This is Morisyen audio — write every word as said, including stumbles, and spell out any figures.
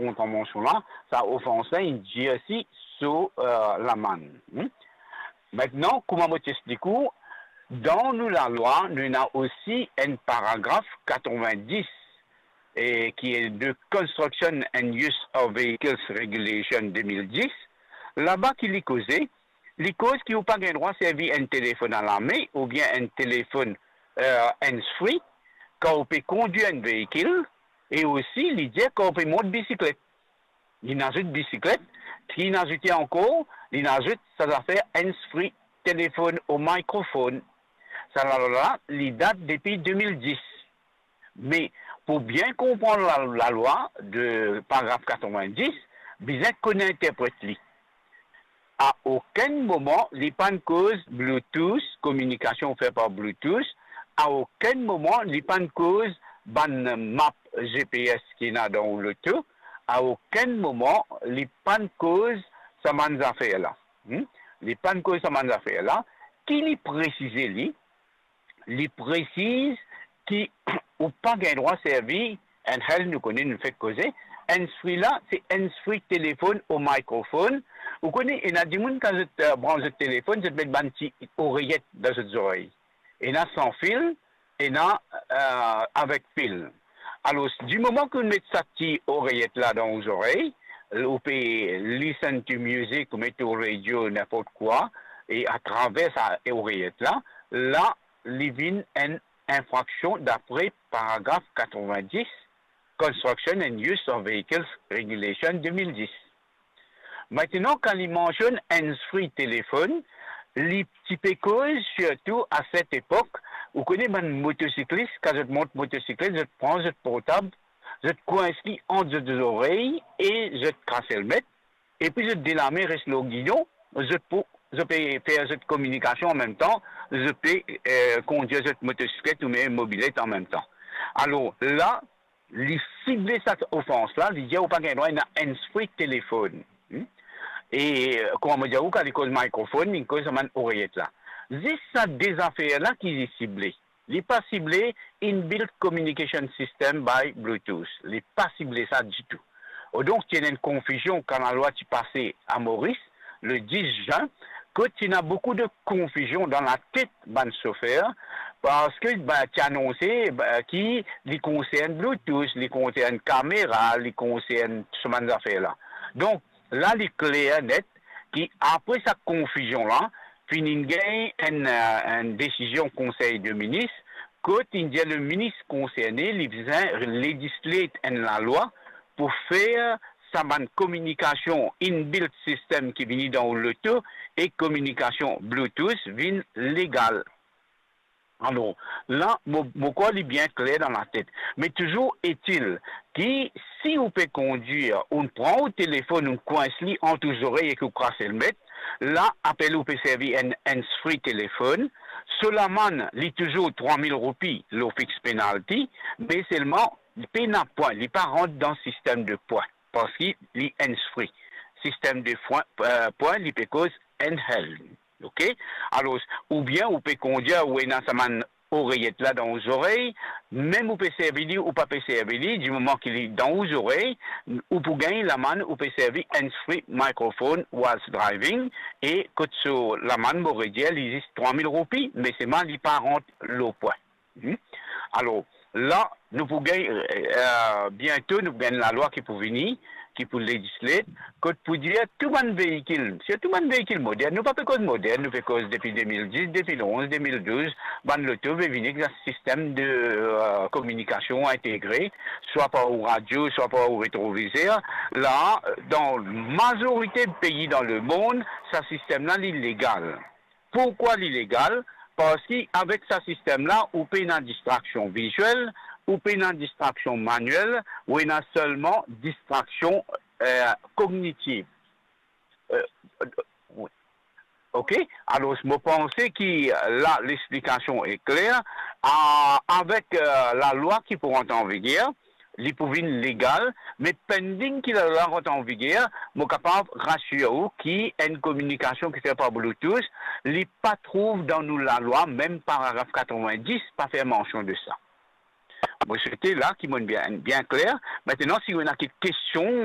kontravansion la, sa ofans la inn dirsi so, eh, lamann. Hmm? Aster, kouma mo ti explik ou, dan nou lalwa, nou ena osi enn paragraf katrevin-dis, e ki e de Construction and Use of Vehicles Regulation de mil dis, laba ki li koze, li koz ki ou pa gagn drwa servi enn telefonn alame oubien enn telefonn, eh, hands-free, kan ou pe kondwir enn veikil, e osi li dir kan ou pe mont bisiklet. Li azout bisiklet, ki li azout ankor, li azout sa zafer hands-free, telefonn ou mikrofonn. Sa lalwa la, li dat depi de mil dis. Me pou bien konpran la, lalwa de paragraf katrevin-dis, bizin konn interpret li. A okenn moman li pa'nn koz Bluetooth, kominikasion fer par Bluetooth, a okenn moman li pa'nn koz bann map G P S ki ena dan ou loto, a okenn moman li pa'nn koz sa bann zafer la. Hmm? Li pa'nn koz sa bann zafer la. Ki li presize li? Li presiz ki ou pa gagn drwa servi enn handheld, nou kone, nou fek koze. Hands-free la, se hands-free telefonn ou mikrofonn. Ou kone, ena dimoun kan zot, eh, brans zot telefonn, zot met bann ti oreyet dan zot zorey. Ena san fil, ena, eh, avek fil. Alor, di moman ki ou met sa ti oreyet la dan ou zorey, ou pe listen to music, ou met ou radio, ninport kwa, e atraver sa oreyet la, la, li vinn enn infraksion dapre paragraf katrevin-dis, Construction and Use of Vehicles Regulation de mil dis. Aster, kan li mansionn hands-free telefonn, li ti pe koz sirtou a set epok, ou kone bann motosiklis, kan zot mont motosiklet, zot pran zot portab, zot kwins li ant zot zorey e zot kaselmet, epi zot de lame res lor gidon, zot pou, zot pe fer zot kominikasion anmemtan, zot pe, eh, kondwir zot motosiklet oubien mobilet anmemtan. Alor, la, li sible sa ofans la, li dir ou pa gagn drwa ena hands-free telefonn. Hmm? E, eh, kouma mo dir ou, kan li koz mikrofonn, li koz sa bann oreyet la. Zis sa de zafer la ki li sible. Li pa sible inbuilt communication system by Bluetooth. Li pa sible sa ditou. Donk, ti ena enn konfizion kan lalwa ti pase a Moris, le dis zin, kot ti ena boukou de konfizion dan latet bann sofer, parski, be, ti anonse, be, ki li konsern Bluetooth, li konsern kamera, li konsern sa bann zafer la. Donk, la, li kler net ki apre sa konfizion la, finn gagn enn, eh, enn desizion Konsey de Minis, kot inn dir le minis konserne, li bizin legislate enn lalwa pou fer sa bann kominikasion inbuilt system ki vini dan ou loto e kominikasion Bluetooth vinn legal. Alor, la, mo, mo krwar li bien kler dan latet. Me touzour etil ki si ou pe kondwir, ou pran ou telefonn, ou kwins li ant ou zorey ek ou kaselmet, la, apel ou pe servi enn hands-free telefonn, so lamann, li touzour trwa mil roupi, lor fix penalty, me selman, pena pwin, li pa rant dan sistem de pwin, parski li hands-free. Sistem de pwin, eh, pwin, li pe koz handheld. Ok? Alor, oubien ou pe kondwir, ou ena sa bann oreyet la dan ou zorey, mem ou pe servi li, ou pa pe servi li, di moman ki li dan ou zorey, ou pou gagn lamann, ou pe servi hands-free microphone whilst driving, e kot so lamann, mo redir, li zis trwa mil roupi, me selman li pa rant lor pwin. Hmm? Alor, la, nou pou gagn, eh, biento, nou pou gagn lalwa ki pou vini, ki pou legislate, kot pou dir tou bann veikil, sirtou bann veikil modern, nou pa pe koz modern, nou pe koz depi de mil dis, de mil onz, de mil douz, bann loto pe vini ek sa sistem de, eh, kominikasion integre, swa par ou radio, swa par ou retrovizer. La, dan mazorite pei dan lemond, sa sistem la, li legal. Pourkwa li legal? Parski avek sa sistem la, ou pena distraksion viziel, ou pena distraksion maniel, ou ena selman distraksion, eh, kognitiv. Eh, wi. Ok? Alor, mo panse ki la, lexplikasion e kler. A, avek, eh, lalwa ki pou rant an viger, li pou vinn legal, me pending ki lalwa rant an viger, mo kapav rasir ou ki enn kominikasion ki fer par Bluetooth, li pa trouv dan nou lalwa, mem paragraf katrevin-dis pa fer mansion de sa. Mo swete la ki mo'nn bien, bien kler. Aster, si ou ena kek kestion,